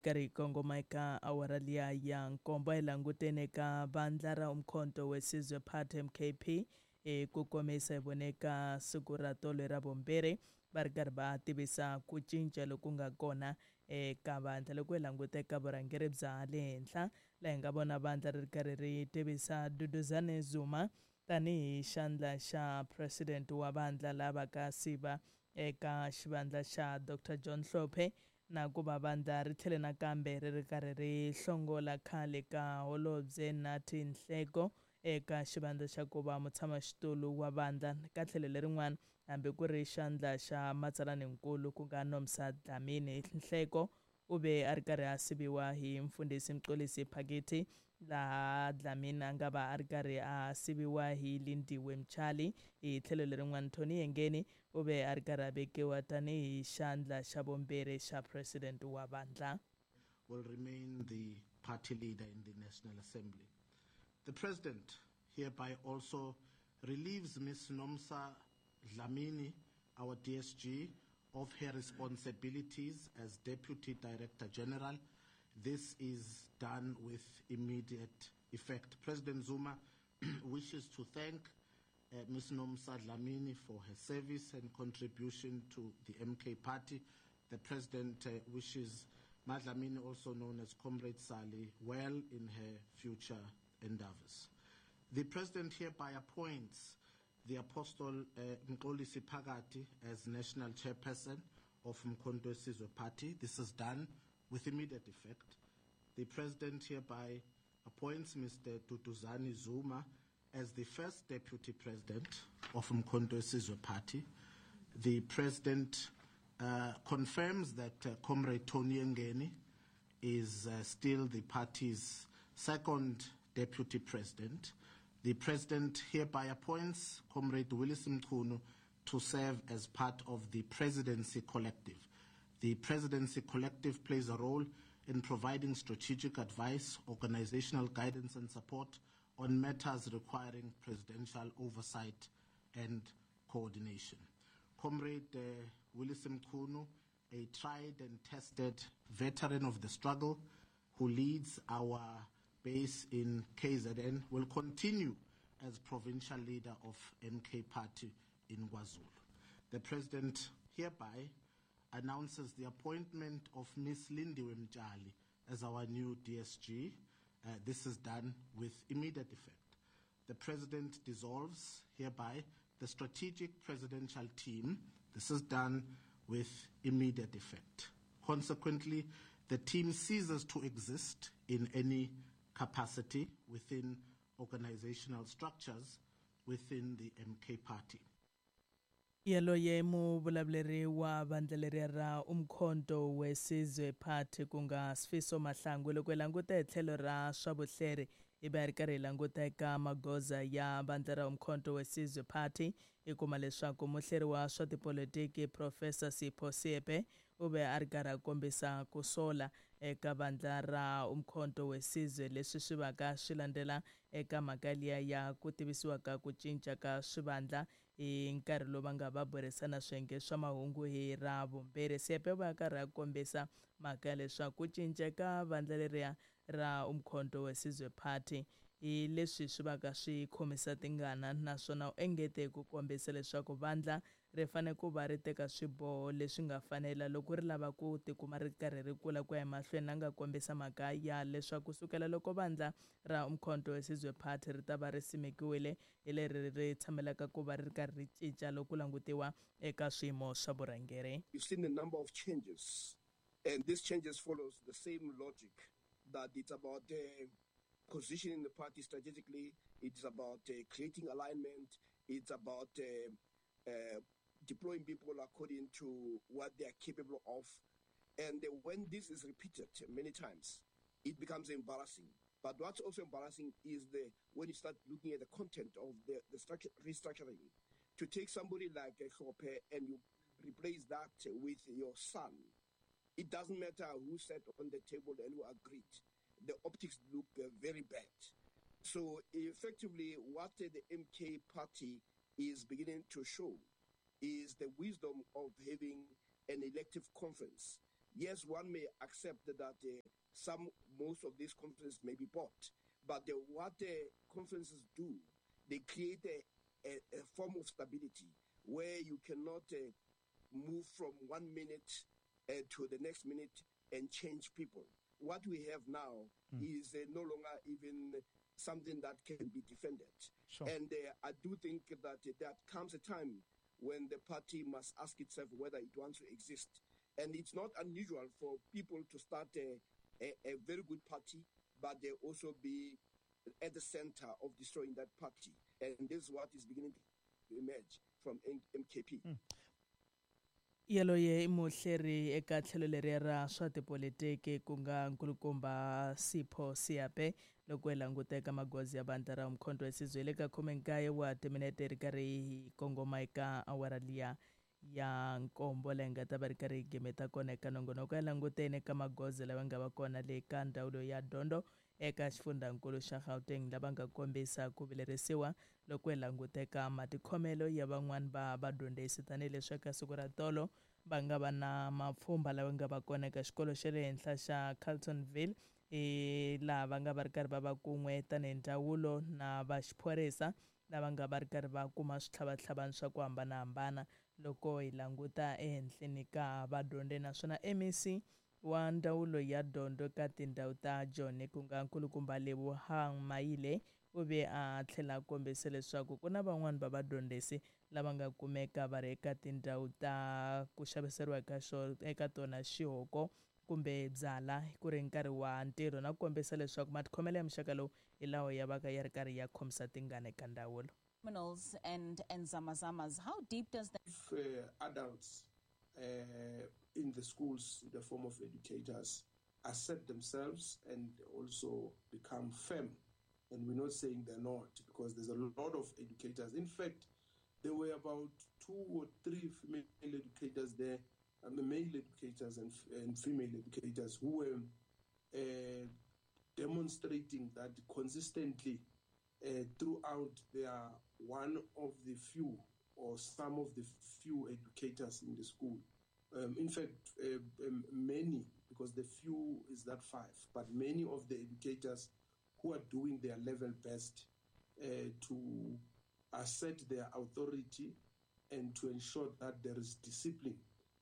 Karhi hi kongoma eka awara liya ya nkombo, hi languteni eka vandla ra Umkhonto weSizwe Party, MKP. Hi ku komisa, hi vone eka siku ra tolo ra vumbirhi va ri karhi va tivisa ku cinca loku nga kona eka vandla. Loko hi languta eka vurhangeri bya le henhla, laha hi nga vona vandla ri ri karhi ri tivisa Duduzane Zuma tanihi xandla xa president wa vandla, lava ka siva eka xivandla xa Dr John Hlophe, na ku va vandla ri tlhele nakambe ri ri karhi ri hlongola khale ka holobye Nathi Nhleko eka xivandla xa ku va mutshamaxitulu wa vandla. Ka tlhelo lerin'wana, hambi ku ri xandla xa matsalaninkulu, ku nga Nomsa Dlamini, Nhleko u ve a ri karhi a siviwa hi mfundhisi Mxolisi Phakiti, laha Dlamini a nga va a ri karhi a siviwa hi Lindiwe Mchali. Hi tlhelo lerin'wana, Tony Yengeni u ve a ri karhi a vekiwa tanihi xandla xa vumbirhi xa president wa vandla. Will remain the party leader in the National Assembly. The President hereby also relieves Ms. Nomsa Dlamini, our DSG, of her responsibilities as Deputy Director General. This is done with immediate effect. President Zuma wishes to thank Ms. Nomsa Dlamini for her service and contribution to the MK Party. The President wishes Madlamini, also known as Comrade Sally, well in her future endeavors. The President hereby appoints the Apostle Mxolisi Phakathi as National Chairperson of Mkhonto weSizwe Party. This is done with immediate effect. The President hereby appoints Mr. Duduzane Zuma as the first Deputy President of Mkhonto weSizwe Party. The President confirms that Comrade Tony Yengeni is still the party's second Deputy President. The President hereby appoints Comrade Willis Mchunu to serve as part of the Presidency Collective. The Presidency Collective plays a role in providing strategic advice, organizational guidance and support on matters requiring presidential oversight and coordination. Comrade Willis Mchunu, a tried and tested veteran of the struggle who leads our base in KZN, will continue as provincial leader of MK Party in KwaZulu. The President hereby announces the appointment of Ms. Lindiwe Mtshali as our new DSG. This is done with immediate effect. The President dissolves hereby the strategic presidential team. This is done with immediate effect. Consequently, the team ceases to exist in any capacity within organizational structures within the MK Party. Yaloye muvulavuleri wa vandla leriya ra Umkhonto weSizwe Party, ku nga Sifiso Mahlangu. Loko hi languta hi tlhelo ra swa vuhleri, hi va hi ri karhi hi languta eka magoza ya vandla ra Umkhonto weSizwe Party, hi kuma leswaku muhleri wa swa tipolitiki Professor Sipho Seepe u ve a ri karhi a kombisa ku sola eka vandla ra Umkhonto weSizwe, leswi swi vaka swi landzela eka mhaka liya ya ku tivisiwa ka ku cinca ka swivandla hi nkarhi lowu va nga va burisana swiyenge swa mahungu hi ra vumbirhi. Seepe va karhi a kombisa mhaka ya leswaku ku cinca ka vandla leriya ra Umkhonto weSizwe Party hi leswi swi vaka swi khomisa tingana, naswona u engete ku kombisa leswaku vandla ri fanele ku va ri teka swiboho leswi nga fanela loko ri lava ku tikuma ri karhi ri kula ku ya emahlweni. A nga kombisa mhaka ya leswaku kusukela loko vandla ra Umkhonto weSizwe Party ri ta va ri simekiwile, hi leri ri tshamelaka ku va ri karhi ri cinca loko ku langutiwa eka swiyimo swa vurhangeri. You've seen a number of changes, and these changes follows the same logic that it's about positioning the party strategically, it's about creating alignment, it's about deploying people according to what they are capable of. And when this is repeated many times, it becomes embarrassing. But what's also embarrassing is the when you start looking at the content of the restructuring. To take somebody like Hlophe and you replace that with your son, it doesn't matter who sat on the table and who agreed. The optics look very bad. So effectively, what the MK party is beginning to show is the wisdom of having an elective conference. Yes, one may accept that most of these conferences may be bought, but what the conferences do, they create a form of stability where you cannot move from 1 minute to the next minute and change people. What we have now is no longer even something that can be defended. Sure. And I do think that there comes a time when the party must ask itself whether it wants to exist. And it's not unusual for people to start a very good party, but they also be at the center of destroying that party. And this is what is beginning to emerge from MKP. Yaloye i muhleri eka tlhelo leriya ra swa tipolitiki ku nga nkulukumba Sipho Seape loko hi languta eka magoza ya vandla ra Umkhonto weSizwe le ka 19 wa timinete ri karhi hi kongoma eka awara liya ya nkombo leyi nga ta va ri karhi hi gimeta kona eka nongonoko ya languteni eka magoza lawa nga va kona le ka ndzawulo ya dyondzo eka xifundzankulu xa Gauteng lava nga kombisa ku vilerisiwa loko hi languta eka matikhomelo ya van'wani va vadyondzisi tanihileswi eka siku ra tolo va nga va na mapfhumba lawa nga va kona eka xikolo xa le henhla xa Carltonville laha va nga va ri karhi va va kun'we tanihi ndzawulo na va xiphorisa lava nga va ri karhi va kuma switlhavatlhavani swa ku hambanahambana loko hi languta ehenhleni ka vadyondzi naswona MEC wa ndzawulo ya dyondzo ka tindhawu ta Joni ku nga nkulukumba Lebohang Maile u ve a tlhela a kombisa leswaku ku na van'wani va vadyondzisi lava nga kumeka va ri eka tindhawu ta ku xaviseriwa eka tona xihoko kumbe byala ku ri nkarhi wa ntirho na ku kombisa leswaku matikhomelo ya muxaka lowu hi lawa ya vaka ya ri karhi ya khomisa tingana eka ndzawulo. Criminals and zamazamas, how deep does that? If adults in the schools, in the form of educators, accept themselves and also become firm. And we're not saying they're not, because there's a lot of educators. In fact, there were about 2 or 3 female educators there, male educators and female educators who were demonstrating that consistently throughout they are one of the few or some of the few educators in the school. In fact, many, because the few is that 5, but many of the educators who are doing their level best to assert their authority and to ensure that there is discipline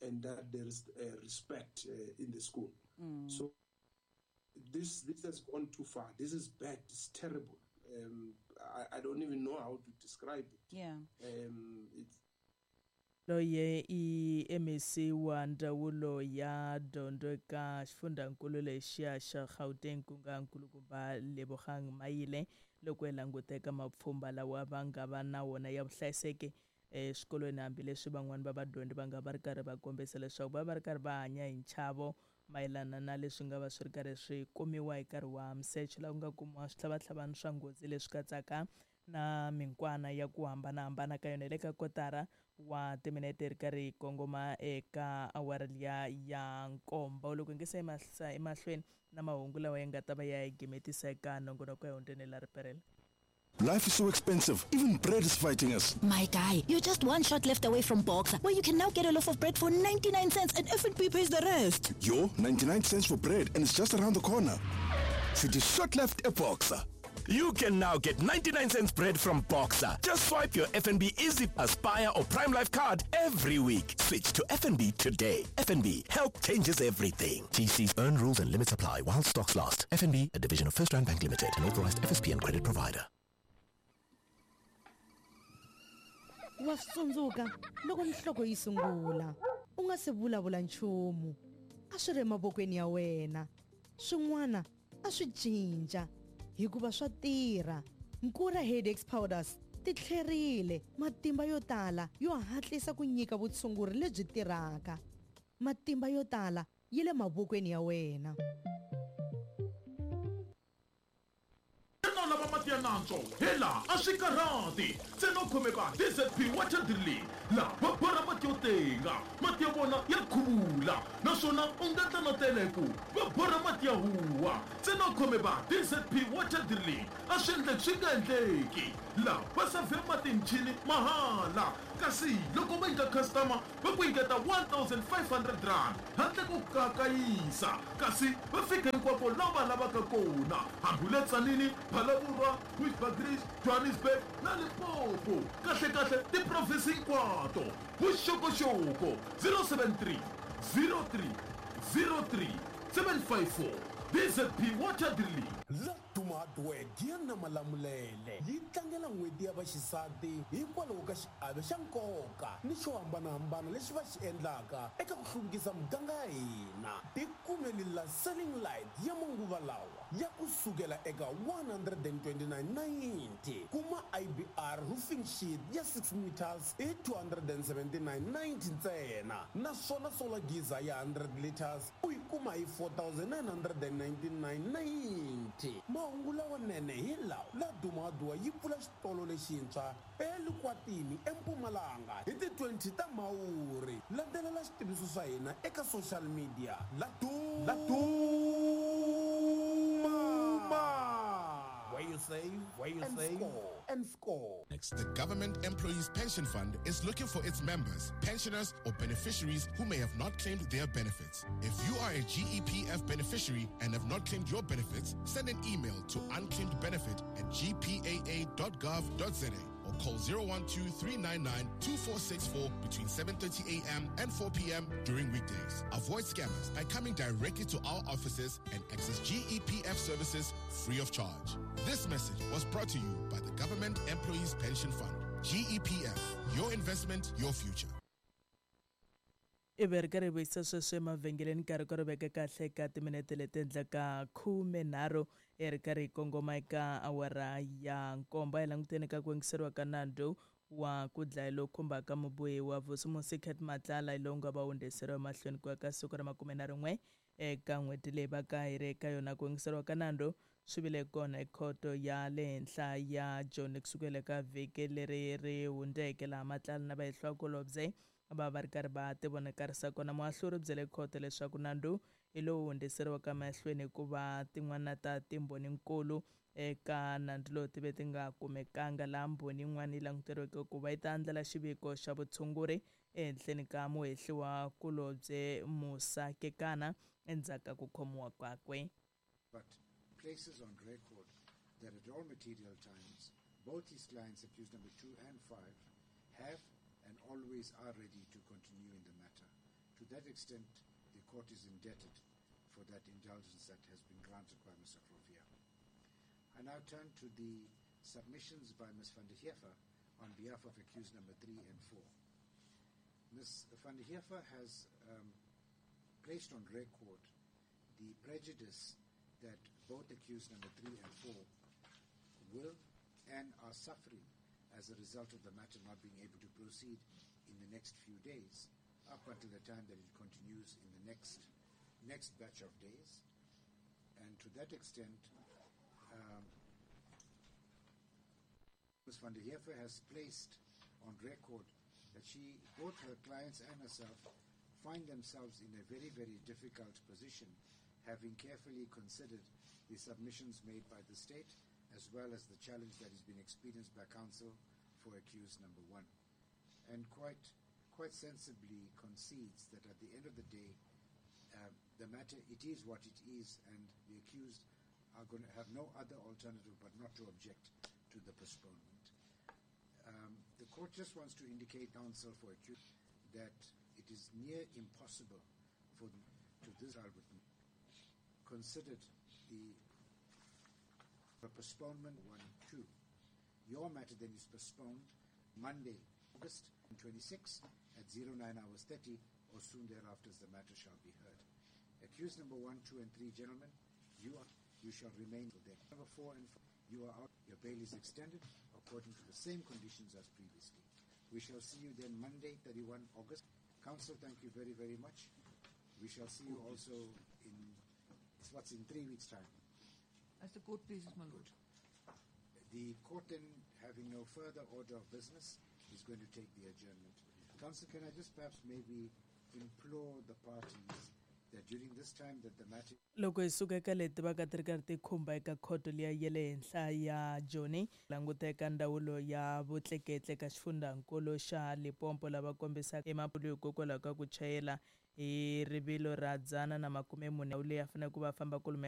and that there is respect in the school. So this has gone too far. This is bad. It's terrible. I don't even know how to describe it. Yeah. It's Loye i MEC wa ndzawulo ya dyondzo eka xifundzankulu lexiya xa Gauteng ku nga nkulukumba Lebohang Maile loko hi languta eka mapfhumba lawa va nga va na wona ya vuhlayiseki eswikolweni hambileswi van'wani va vadyondzi va nga va ri karhi va kombisa leswaku va va ri karhi va hanya hi nchavo mayelana na leswi nga va swi ri karhi swi kumiwa hi nkarhi wa misecho laha ku nga kumiwa switlhavatlhavani swa nghozi leswi katsaka na minkwana ya ku hambanahambana ka yona le ka kotara wa timinete ri karhi hi kongoma eka awara liya ya nkombo loko hi nge se emahlweni na mahungu lawa ya nga ta va ya hi gimetisa eka nongonoko ya hundzeni la riperela. Life is so expensive. Even bread is fighting us. My guy, you're just one shot left away from Boxer, where you can now get a loaf of bread for 99 cents and F&B pays the rest. Yo, 99 cents for bread and it's just around the corner. City shot left a Boxer. You can now get 99 cents bread from Boxer. Just swipe your FNB Easy Aspire or Prime Life card every week. Switch to FNB today. FNB, help changes everything. TC's earn rules and limits apply while stocks last. FNB, a division of First Rand Bank Limited, an authorized FSP and credit provider. Wa swi tsundzuka loko nhloko yi sungula u nga se vulavula nchumu a swi ri emavokweni ya wena swin'wana a swi cinca hikuva swa tirha. Nkura Headaches Powders ti tlherile matimba yo tala yo hatlisa ku nyika vutshunguri lebyi tirhaka. Matimba yo tala yi le mavokweni ya wena. Lava mati ya nantswo hela a swi karhati ntsena u khomeka DZP water drilling laha va borha mati yo tenga mati ya vona ya khuvula naswona u nga tlanatela hi ku va borha mati ya huwa ntsena u khomeka DZP water drilling a swi endleki swi nga endleki laha va savhe mati hi michini mahala Kasi loko va nyika customer va ku nyiketa R1500 handle ko kakayisa. Kasi va fika hinkwako laha va lavaka kona, hambi u le Tzaneen, Phalaborwa, Bushbuckridge, Johannesburg na Limpopo. Kahlekahle tiprovinsi hinkwato. Vuxokoxoko 073 03 03 754 DZP Water Drilling. La Duma Hardware Giya Malamulele yi tlangela n'hweti ya vaxisati hikwalaho ka xiave xa nkoka ni xo hambanahambana lexi va xi endlaka eka ku hluvukisa muganga ya hina. Tikumeli la selling light ya manguva lawa ya ku sukela eka 129.90, kuma IBR roofing sheet ya 6 meters hi 279.90 ntsena, naswona solar geyser ya 100 liters u yi kuma hi 4999.90. Mahungu lawanene hi lawa: La Duma Hardware yi pfula xitolo lexintshwa eLukwatini eMpumalanga hi ti 20 ta Mhawuri. Landzelela xitiviso swa hina eka social media. La Duma, where you save, where you and save score, and score. Next, the Government Employees Pension Fund is looking for its members, pensioners, or beneficiaries who may have not claimed their benefits. If you are a GEPF beneficiary and have not claimed your benefits, send an email to unclaimedbenefit@gpaa.gov.za or call 012-399-2464 between 7:30 a.m. and 4 p.m. during weekdays. Avoid scammers by coming directly to our offices and access GEPF services free of charge. This message was brought to you by the Government Employees Pension Fund. GEPF, your investment, your future. Ivi ri karhi hi vuyisa sweswo emavhengeleni, nkarhi ku ri veke kahle ka timinete leti endlaka 13 hi ri karhi hi kongoma eka awara ya 7. Hi languteni ka ku yingiseriwa ka nandzu wa ku dlaya lowu khumbaka mubohiwa Vusimusi Cat Matlala, lowu nga va hundziseriwa emahlweni ku ya ka siku ra 21 eka n'hweti leyi va ka hi ri eka yona. Ku yingiseriwa ka nandzu swi vile kona ekhoto ya le henhla ya Joni kusukela ka vhiki leri ri hundzeke, laha Matlala na vahehliwakulobye va va ri karhi va tivonakarisa kona. Muahluri byele khoto leswaku nandzu hi lowu hundziseriwaka mahlweni hikuva tin'wana ta timbhoninkulu eka nandzu lowu ti ve ti nga kumekanga, laha mbhoni yin'wana yi languteriweke ku va yi ta andlala xiviko xa vutshunguri ehenhleni ka muhehliwa kulobye Musa Kekana endzhaku ka ku khomiwa kwakwe. But places on record that at all material times, both his clients, accused number 2 and 5, have and always are ready to continue in the matter. To that extent, the court is indebted for that indulgence that has been granted by Mr. Glovier. I now turn to the submissions by Ms. van der Heever on behalf of accused number 3 and 4. Ms. van der Heever has placed on record the prejudice that both accused number 3 and 4 will and are suffering as a result of the matter not being able to proceed in the next few days, up until the time that it continues in the next batch of days. And to that extent, Ms. van der Heever has placed on record that she, both her clients and herself, find themselves in a very, very difficult position, having carefully considered the submissions made by the state, as well as the challenge that has been experienced by counsel for accused number 1. And quite sensibly concedes that at the end of the day, the matter, it is what it is, and the accused are going to have no other alternative but not to object to the postponement. The court just wants to indicate counsel for accused that it is near impossible for to this considered the postponement 1-2. Your matter then is postponed Monday, August 26 at 09:30 or soon thereafter, as the matter shall be heard. Accused number 1, 2, and 3, gentlemen, you shall remain there. Number 4 and 5, you are out. Your bail is extended according to the same conditions as previously. We shall see you then Monday, 31 August. Counsel, thank you very, very much. We shall see you also in, what's in 3 weeks' time. As the court pleases, my lord. The court then, having no further order of business, is going to take the adjournment. Counsel, can I just perhaps maybe implore the parties, That during this time that the matter Loko hi suka eka leti va ka ti ri karhi ti khumba eka khoto liya ya le henhla ya Joni, languta eka ndzawulo ya vutleketli eka xifundzankulu xa Limpopo lava kombisaka emapulu hikokwalaho ka ku chayela hi rivilo ra 140 leyi a fanele ku va famba kulume.